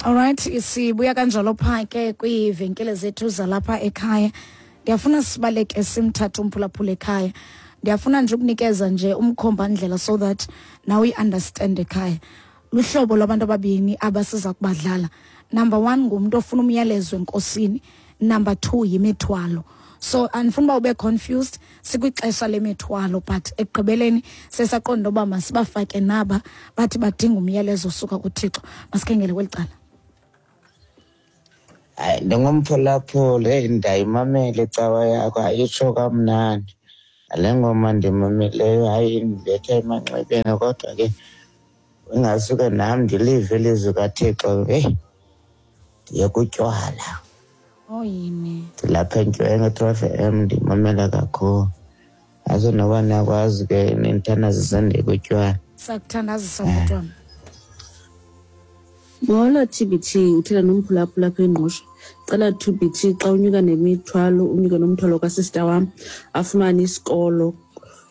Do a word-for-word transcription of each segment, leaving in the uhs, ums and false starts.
Alright, sibuya kanjalo pha ke kwiivenkile zethu zalapha ekhaya. Ndiyafuna sibaleke simthathe umphulaphula ekhaya. Ndiyafuna nje ukunikeza nje umkhombandlela so that now we understand ekhaya. Luhlobo lwabantu ababini abasiza kubadlala. Number one ngumuntu ofuna umyalezo enkosini. Number two yimithwalo. So andifuna uba ube confused, sikwixesha lemithwalo, but ekugqibeleni sesaqonda uba masibafake naba bathi badinga umyalezo osuka kuThixo. Masikhengele kweli cala. Hayi, ndingumphulaphuli, heyi, ndiyayimamela icawa yakho, ayitsho kamnandi. Le ngoma ndimameleyo hayi indibetha emanxebeni, kodwa ke ingasuke nam ndilive ilizwi kaThixo. Heyi, ndiye kutywala. Oh yini. Ndilapha eNtshwenge True F M ndimamela kakhulu. Azo noba niyakwazi ke nindithandazise ndiye kutywala. Sakuthandazisa bhuti wam. Molo T B T, uthetha nomphulaphula apha eNgqushwa. Cela T B T xa unyuka nemithwalo, unyuke nomthwalo kasista wam afumane isikolo,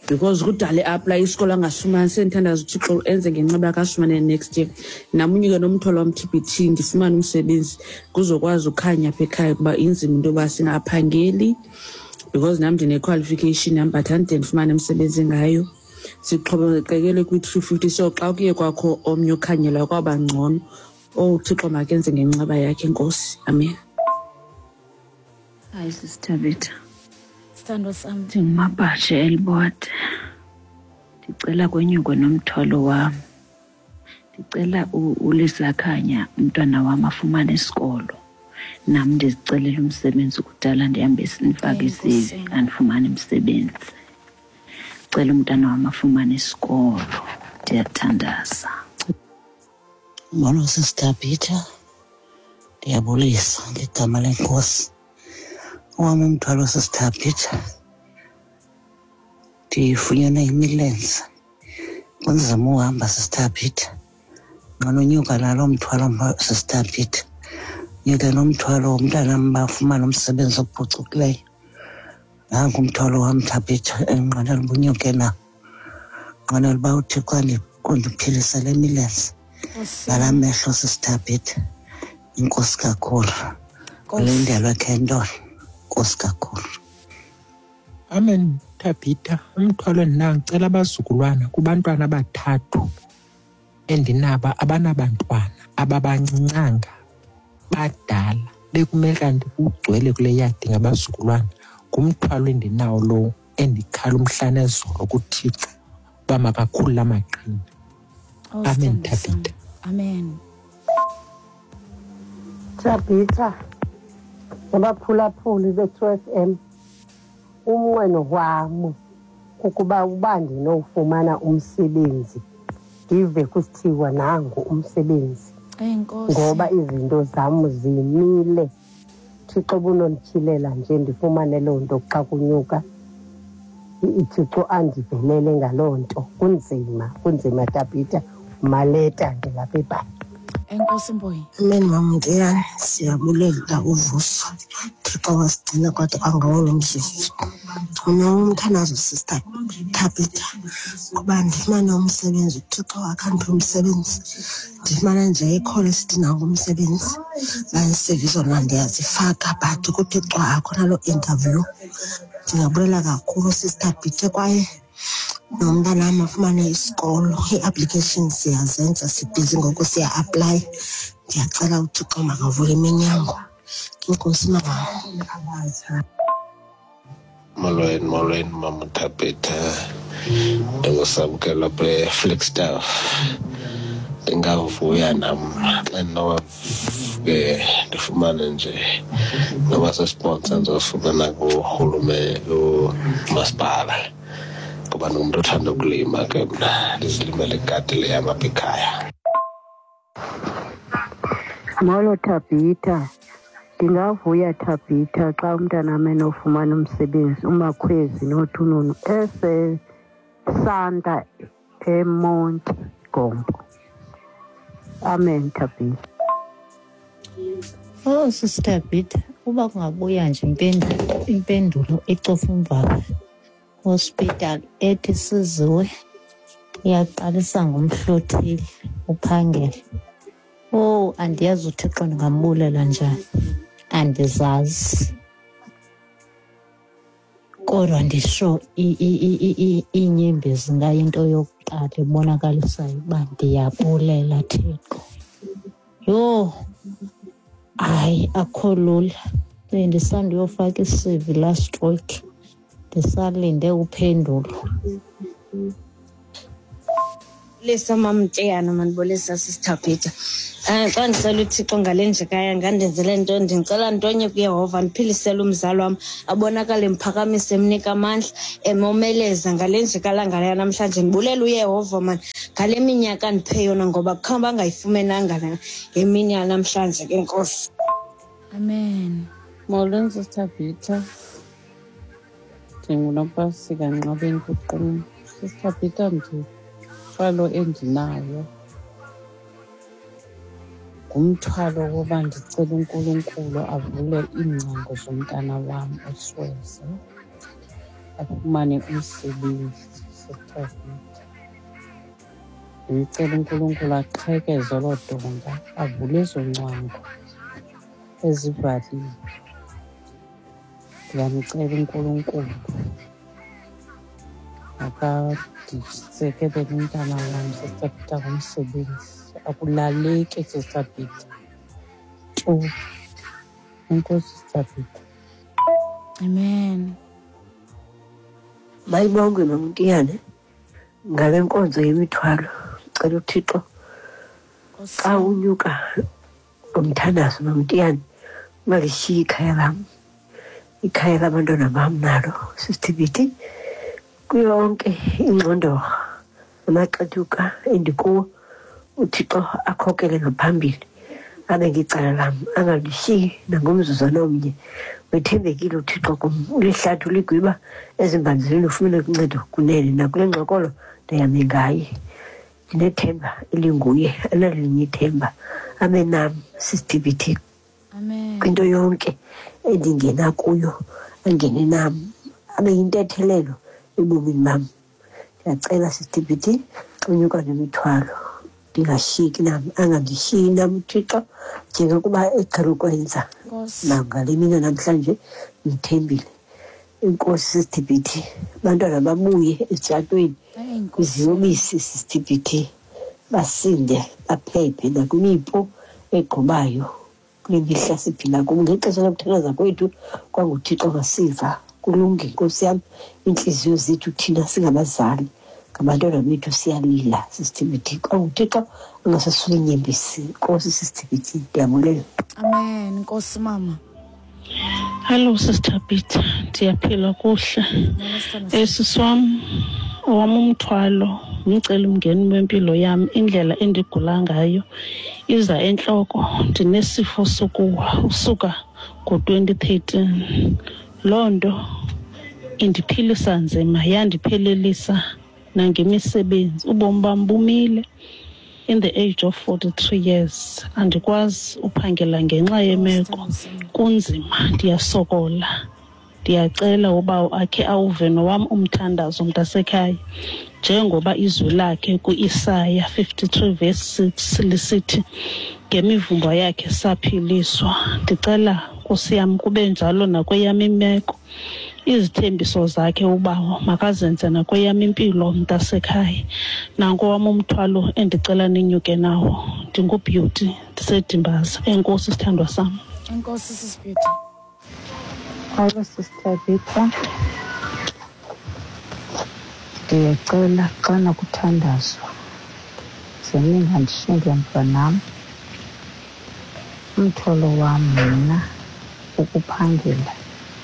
because kudala e-apply isikolo angasifumani. Sendithandaza uThixo enze ngenxeba akasifumane next year. Nam unyuke nomthwalo wam T B T, ndifumane umsebenzi kuzokwazi ukhanya apha ekhaya, kuba inzima into yoba singaphangeli, because nam ndine-qualification yam but andide ndifumane umsebenzi ngayo. Sixhomekekele kwi-three fifty, so xa kuye kwakho omnye okhanyelayo kwaba ngcono. Oh Thixo makenze ngenxeba yakhe, Nkosi. Amen. Hayi Sister Tabitha. Sithandwa sam. Ndingumabhashe Elibode. Ndicela kwenyukwe nomthwalo wam. Ndicela uLisakhanya umntwana wam afumane isikolo. Nam ndizicelela umsebenzi, kudala ndihambe ndifake I C V andifumane umsebenzi. Cela umntana wam afumane isikolo. Ndiyathandaza. Molo Sister Peter, ndiyabulisa ngegama leNkosi. Owam umthwalo Sister Peter, ndifunyenwe yimilenze. Kunzima uhamba Sister Peter. Nqononyuka nalo mthwalo Sister Peter. Nyuke nomthwalo womntanam bafumane umsebenzi ophucukileyo. Nanku umthwalo wam Thabitha, enqwenela uba unyuke nawo. Nqwenela uba uThixo undiphilisele emilenze. Nala mehlo Sister Peter. Inkosi kakhulu. Ulindelwe Kendon. Inkosi kakhulu. Amen Thabitha. Umthwalo endinawo, ndicela abazukulwana kubantwana abathathu endinaba abanabantwana ababancincanga badala, bekumele kanti kugcwele kule yadi ngabazukulwana. Ngumthwalo endinawo lowo endikhala umhla nezolo kuThixo uba makakhulule amaqhina. Amen Thabitha. Amen. Thabitha, nabaphulaphuli be-True F M, umnqweno wam kukuba uba ndinowufumana umsebenzi, ndive kusithiwa nangu umsebenzi. Ngoba izinto zam zimile. Thixo bunondityhilela nje ndifumane loo nto xa kunyuka. IThixo andivelele ngaloo nto. Kunzima, kunzima Thabitha. Maleta ndilapha eBhayi. Enkosi Mboyi. Amen mama Ntiyane, siyabulela uvuso. Thixo wasigcina kwade kwangawo lo mzuzu. Mna umthandazo Sister Thabitha kuba ndifumane umsebenzi, uThixo akhandiphe umsebenzi. Ndifumane nje ikhona esithi nangu umsebenzi. C V zona ndiyazifaka but kuThixo akho naloo interview. Ndingabulela kakhulu Sister Thabitha, kwaye nomntanam afumane isikolo. Ii-applications siyazenza, sibhizi ngoku siya-aplaya. Ndiyacela uThixo makavule iminyango. Inkosi mama. Molweni, molweni mama Thabitha. Ndingusamkelo apha eFlagstaff. Ndingavuya nam xa ndinoke ndifumane nje noba sisiponsa ndizosifumana kurhulumente, kumasipala, ngoba ndingumntu othanda ukulima ke mna, ndizilimele igadi le yam apha ekhaya. Molo Thabitha. Ndingavuya Thabitha xa umntanam enofumana umsebenzi, uMakhwezi noThununu eseSanta eMonti Gompo. Amen Thabitha. Oh Sister Thabitha, uba kungabuya nje impendulo impendulo eCofimvaba Hospital ethi siziwe iyaqalisa ngomhlothile uphangele. Oh Yho, andiyazi uThixo ndingambulela njani, andizazi. Kodwa ndisho iinyembezi ngayinto yokuqala ebonakalisayo uba ndiyabulela Thixo. Yho, hayi akho lula. Bendisanduyofaka i-C V last week, ndisalinde uphendulo. Lisa Mamteyana mandibulisa Sister Peter. Eh xa ndicela uThixo ngale ndlekaya ngandenzele nto, ndicela ntonye kuYehova ndiphilisele umzali wam abonakale mphakamise emnika amandla emomeleza ngale ndlekala ngale namhlanje. Ndibulela uYehova man ngale minyaka ndiphe yona ngoba kukho bangayifumenanga ngemini yanamhlanje ke Nkosi. Amen. Molweni Sister Peter. NdinguNompasika Nqabeni kuQumbu. Sister Peter, ndimthwalo endinayo ngumthwalo woba ndicela uNkulunkulu avule iingcango zomntana wam uSweze afumane umsebenzi. Sister Peter, ndimcela uNkulunkulu aqhekeze olo donga, avule ezo ngcwango ezivaliwe. Ndiyamcela uNkulunkulu akadisekelele umntana wam Sister Peter ngomsebenzi. Akulaleki Sister Peter tu. Enkosi Sister Peter. Amen. Mayibongwe Mamtiyane ngale nkonzo yemithwalo. Cela uThixo xa unyuka ngomthandazo Mamtiyane ungalishiyi ikhaya lam, ikhaya labantwana bam nalo Sister Peter. Kuyonke ingxondorha amaxethuka endikuwo uThixo akhokele ngaphambili abe ngicala lam, angalishiyi nangomzuzwana omnye. Wethembekile uThixo kum, ulihlathi uligwiba ezimbanzini ufumene uncedo kunene. Nakule ngxokolo ndiyame ngaye, ndinethemba elinguye, analinye ithemba. Abe nam Sister Peter. Amen. Kwinto yonke endingena kuyo angene nam, abe yintethelelo ebomini bam. Ndiyacela Sister Peter xa unyuka nemithwalo ndingashiyeki nam, angandishiyi nam uThixo njengokuba eqhele ukwenza nangale mini namhlanje. Ndithembile inkosi Sister Peter, abantwana babuye esitshatweni kwiziyobisi Sister Peter, basinde baphephe nakwimipu egqubayo kule mihla siphila kuyo. Ngexesha lokuthandaza kwethu kwanguThixo ngasiva. Kulungile Nkosi yam, iintliziyo zethu thina singabazali ngabantwana bethu siyalila Sister Peter. KwanguThixo angasasula iinyembezi. Nkosi Sister Peter, ndiyabulela. Amen. Nkosi mama. Hello Sister Peter, ndiyaphila kuhle. Sisi wam, owam umthwalo umcelimngeni wempilo yam, indlela endigula ngayo iza entloko. Ndinesifo sokuwa usuka ngo-twenty thirteen. Loo nto indiphilisa nzima, yandiphelelisa nangemisebenzi. Ubomi bam bumile in the age of forty-three years. Andikwazi uphangela ngenxa yemeko. Kunzima, ndiyasokola. Ndiyacela uba akhe awuve nowam umthandazo mntasekhaya, njengoba izwi lakhe ku-Isaya fifty-three verse six lisithi ngemivumbo yakhe saphiliswa. Ndicela Nkosi yam kube njalo nakweyam imeko. Izithembiso zakhe ubawo makazenze nakweyam impilo mntasekhaya. Nanko wam umthwalo endicela ninyuke nawo. NdinguBeauty, ndiseDimbaza. Enkosi sithandwa sam. Enkosi Sis Beauty. Hello Sister Peter. Ndiyacela xana kuthandazwa ze ningandishiyi mntwanam. Umthwalo wam mna ukuphangela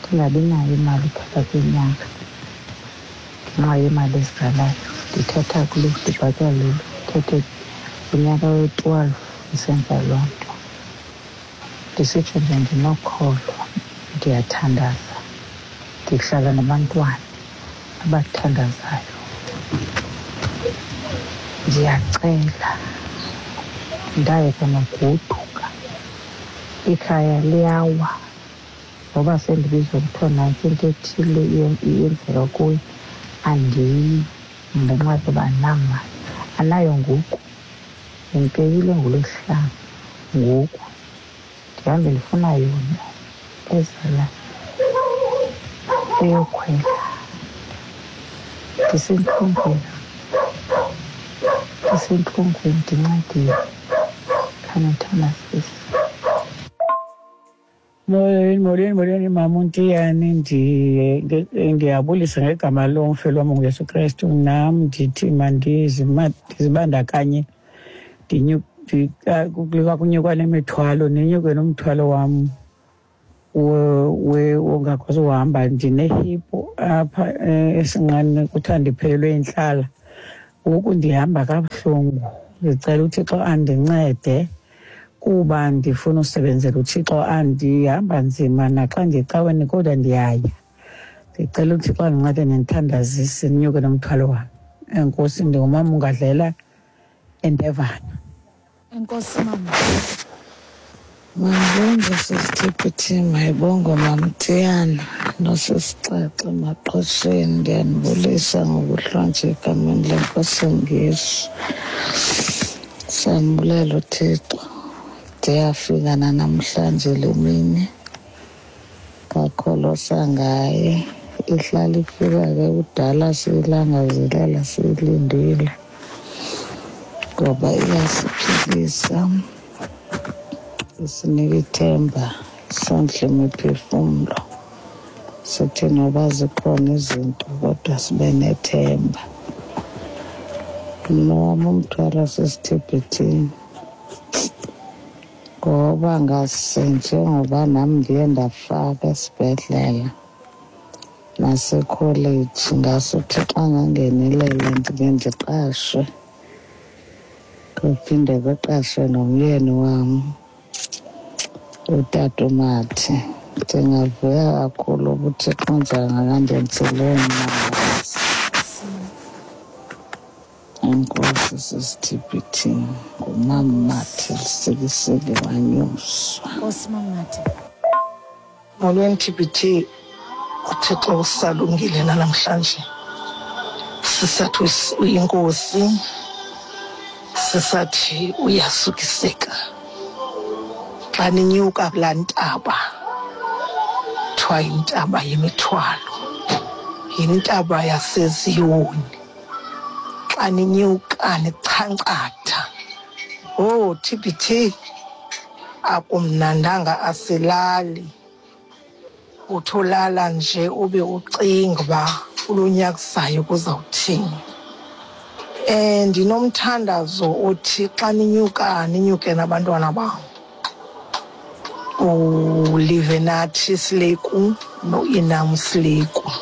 ndingabi nayo imali phakathi kwenyanga ngenxa yemali ezizalayo. Ndithatha kulo, ndibhatalele, ndithathe kunyaka we-twelve ndisenza loo nto. Ndisitsho nje ndinokholo, ndiyathandaza, ndihlala nabantwana abathandazayo. Ndiyacela ndayeka nogoduka, ikhaya liyawa ngoba sendibizwa kuthiwa nantsi into ethile iyenzeka kuyo, andiyi ngenxa yoba andinamali. Anayo ngoku, ndipeyile ngoLwesihlanu. Ngoku ndihambe ndifuna yona ezala eyokhwela. Ndisentlungwini, ndisentlungwini, ndincediwe. Khanithandazise. Molweni, molweni, molweni, mama uNtiyane. Ndiyabulisa ngegama lomfelo wam nguYesu Krestu. Nam ndithi mandizibandakanye kunyukwa nemithwalo, ninyuke nomthwalo wam wongakwazi uhamba. Ndinehiphu apha esinqeni, kuthiwa ndiphelelwe yintlala. Ngoku ndihamba kabuhlungu. Ndicela uThixo andincede kuba ndifuna usebenzela uThixo. Andihamba nzima naxa ndiyecaweni, kodwa ndiyaya. Ndicela uThixo andincede nendithandazise, ndinyuke nomthwalo wam. Enkosi. Ndingumama ungadlela eNdevana. Enkosi mama. Mandibonge sisithiphithi, mayibongwe Mamthiyana nosisixaxe Maqhosheni. Ndiyanibulisa ngokuhlonje egameni leNkosi enguYesu. Siyambulela uThixo. Ndiyafika nanamhlanje le mini kakholosa ngaye. Ihlala ifika ke kudala siyilangazelela, siyilindile ngoba iyasiphilisa, isinika ithemba, sondle imiphefumlo. Sithi noba zikhona izinto kodwa sibe nethemba. Mna wam umthwalo sisithibhithini ngoba ngase njengoba nam ndiye ndafaka esibhedlela nasekholeji, ngase uThixo angangenelela ndike ndiqashwe, kuphinde kuqashwe nomyeni wam utata uMathi. Ndingavuya kakhulu uba uThixo nje angakandenzela ummangaliso. Enkosi sisithiphithi, ngumama Mathi Lusikisiki wanyuswa. Nkosi mama Mathi. Molweni T B T, uThixo usalungile namhlanje. Sisathi uyinkosi, sisathi uyasukiseka. Xa ninyuka kulaa ntaba kuthiwa yintaba yemithwalo, yintaba yaseZiyoni. Xa ninyuka nichankcatha, oh T B T, akumnandanga, asilali. Utholala nje ube ucinga uba kulo nyaka uzayo kuzawuthini. Um ndinomthandazo othi xa ninyuka ninyuke nabantwana bam, uLivenathi Sileku noInam Sileku.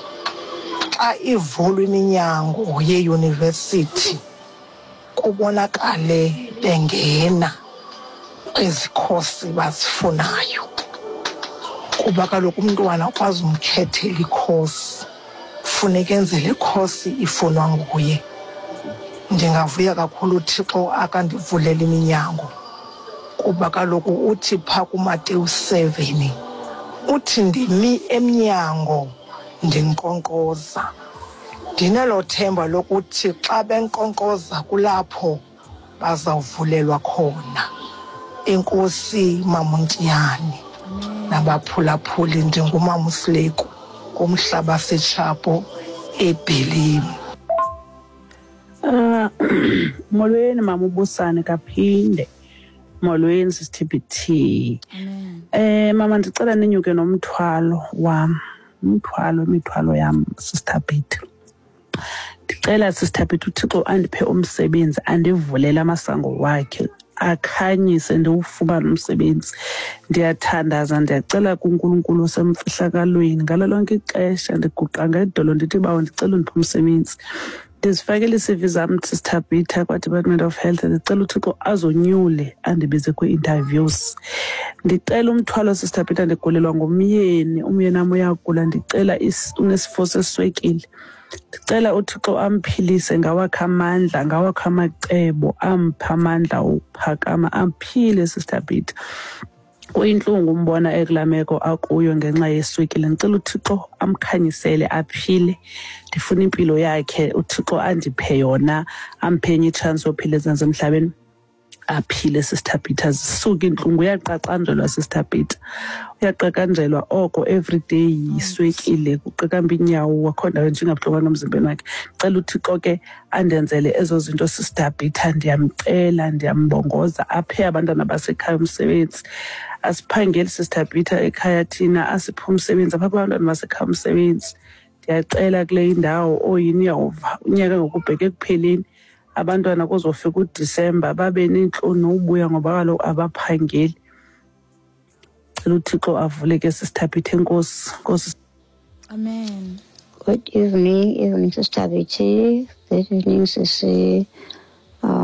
Xa ivulwa iminyango yeyunivesithi kubonakale bengena kwezi khosi bazifunayo, kuba kaloku umntwana ukwazi umkhethela ikhosi, funeka enze le khosi ifunwa nguye. Ndingavuya kakhulu uThixo akandivulela iminyango, kuba kaloku uthi phaa kuMateyu seven uthi ndimi emnyango ndinkqonkqoza. Ndinelo themba lokuthi xa benkqonkqoza kulapho bazawuvulelwa khona. Enkosi Mamuntiyane nabaphulaphuli, ndingumama uSileku kumhlaba seTshapo eBhelimu. Uh, molweni mama uBusane kaphinde. Molweni sisi T B T. Eh mama ndicela ninyuke nomthwalo wam. Umthwalo, imithwalo yam Sister Peter. Ndicela Sister Peter uThixo andiphe umsebenzi, andivulele amasango wakhe, akhanyise ndiwufumane umsebenzi. Ndiyathandaza, ndiyacela kuNkulunkulu osemfihlakalweni ngalo lonke ixesha, ndiguqa ngedolo ndithi bawo ndicela undiphe umsebenzi. Ndizifakele ii-C V zam Sister Peter kwa-Department of Health, ndicela uThixo azonyule andibize kwii-interviews. Ndicela umthwalo Sister Peter, ndigulelwa ngumyeni, umyeni wam uyagula, ndicela unesifo seswekile. Ndicela uThixo amphilise ngawakhe amandla, ngawakhe amacebo, amphe amandla okuphakama, aphile Sister Peter. Kuyintlungu umbona ekulaa meko akuyo ngenxa yeswekile. Ndicela uThixo amkhanyisele aphile. Ndifuna impilo yakhe, uThixo andiphe yona, amphe enye itshansi yophila ezantsi emhlabeni. Aphile, Sister Peter, zisuke iintlungu. Uyaqaqanjelwa, Sister Peter, uyaqaqanjelwa oko everyday yiswekile, kuqaqamba iinyawo, akho ndawo nje ingabuhlungwanga emzimbeni wakhe. Cela uThixo ke andenzele ezo zinto, Sister Peter, ndiyamcela, ndiyambongoza, aphe abantwana basekhaya umsebenzi. Asiphangeli, Sister Peter, ekhaya thina, asiphe umsebenzi, apha abantwana basekhaya umsebenzi. Ndiyacela kule indawo oyini, uyawuva unyaka ngokubheka ekupheleni, abantwana kuzofika uDisemba babe neentloni nokubuya ngoba kaloku abaphangeli. Cela uThixo avule ke, Sister Peter. Enkosi, nkosi. Amen. Good evening, evening, Sister B T. Good evening, Sisi